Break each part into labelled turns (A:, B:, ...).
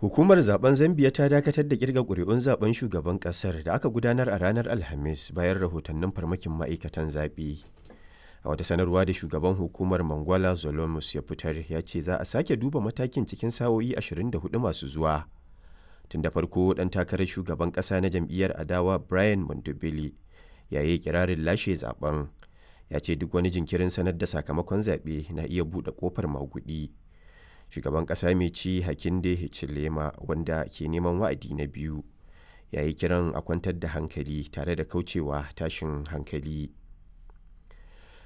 A: Hukumar zaben Zambiya ta dakatar da kirga ƙuri'un zaben shugaban ƙasar da aka gudanar a ranar Alhamis bayan rahotannin farmakin ma'aikatan zaɓe. A wata sanarwa da shugaban hukumar Mangwala Zolomus ya fitar ya ce za a sake duba matakin cikin sa'o'i 24 masu zuwa. Tun da farko ɗan takarar shugaban ƙasa na jam'iyyar adawa Brian Mondobele ya yi kirarin lashe zaben. Ya ce duk wani jinkirin sanar da sakamakon zaɓe na iya buɗe ƙofar maguɗi. Shugaban ƙasa mai ci Hakainde Hichilema wanda ke neman wa'adi na biyu ya yi kiran a kwantar da hankali tare da kaucewa tashin hankali.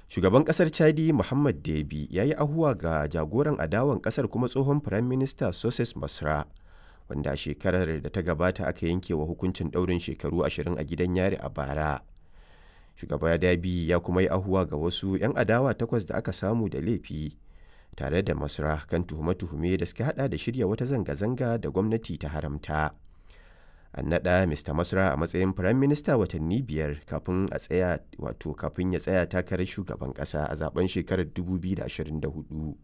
A: Shugaban ƙasar Chadi Mohamed Deby ya yi ahuwa ga jagoran adawan ƙasar kuma tsohon Firaminista Socés Masra, wanda a shekarar da ta gabata aka yanke wa hukuncin ɗaurin shekaru 20 a gidan yari a bara. Shugaba Deby ya kuma yi ahuwa ga wasu 'yan adawa takwas da aka samu da laifi tare da Masra kan tuhume-tuhume da suka hada da shirya wata zanga-zanga da gwamnati ta haramta. An naɗa Mr. Masra a matsayin firaminista watanni 5 kafin a tsaya wato kafin ya tsaya takarar shugaban ƙasa a zaben shekarar 2024.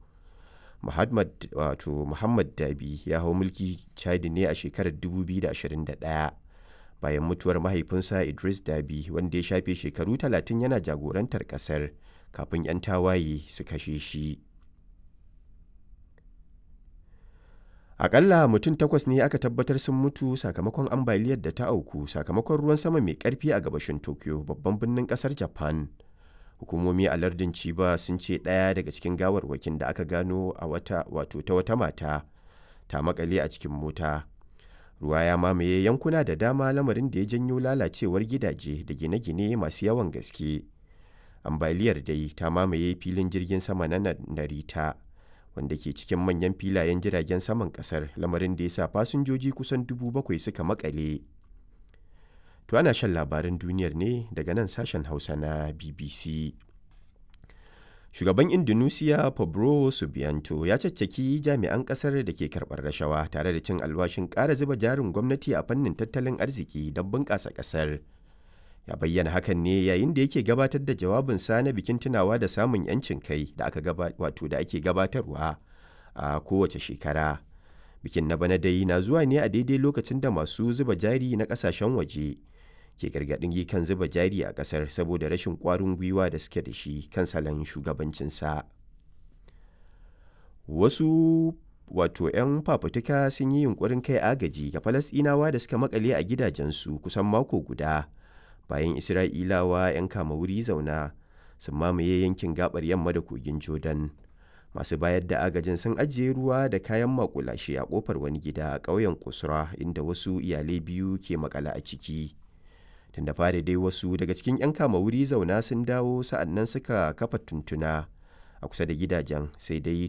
A: Muhammad wato Muhammad Dabi ya hau mulki Chadi ne a shekarar 2021 bayan mutuwar mahaifinsa Idris Dabi wanda ya shafe shekaru 30 yana jagorantar ƙasar kafin 'yan tawaye su kashe shi. Akalla mutum takwas ne aka tabbatar sun mutu sakamakon ambaliyar da ta auku sakamakon ruwan sama mai karfi a gabashin Tokyo babban birnin kasar Japan. Hukumomi a lardin Chiba sun ce ɗaya daga cikin gawarwakin da aka gano a wata wato ta wata mata ta makale a cikin mota. Ruwa ya mamaye yankuna da dama lamarin da ya janyo lalacewar gidaje da gine-gine masu yawan gaske. Ambaliyar dai ta mamaye filin jirgin sama na Narita, wanda ke cikin manyan filayen jiragen saman kasar, lamarin da ya sa fasinjoji kusan 7,000 suka makale. To ana shan labaran duniyar ne daga nan sashen Hausa na BBC. Shugaban Indonesia Prabowo Subianto ya caccaki jami'an kasar da ke karɓar rashawa tare da cin alwashin ƙara zuba jarin gwamnati a fannin tattalin arziki don bunƙasa ƙasar. Ya bayyana hakan ne yayin da yake gabatar da jawabinsa na bikin tunawa da samun 'yancin kai da aka wato da ake gabatarwa a kowace shekara. Bikin na bana dai na zuwa ne a daidai lokacin da masu zuba jari na kasashen waje ke gargaɗin kan zuba jari a ƙasar saboda rashin ƙwarin gwiwa da suke da shi kan salon shugabancinsa. Wasu wato 'yan fafutuka sun yi yunkurin kai agaji ga Falasɗinawa da suka makale a gidajensu kusan mako guda bayan Isra'ilawa 'yan kama wuri zauna sun mamaye yankin gabar yamma da kogin Jordan. Masu bayar da agajin sun ajiye ruwa da kayan makulashe a kofar wani gida a ƙauyen Kusra inda wasu iyalai biyu ke makale a ciki. Tun da fari dai wasu daga cikin 'yan kama wuri zauna sun dawo sa'annan suka kafa tuntuna a kusa da gidajen, sai dai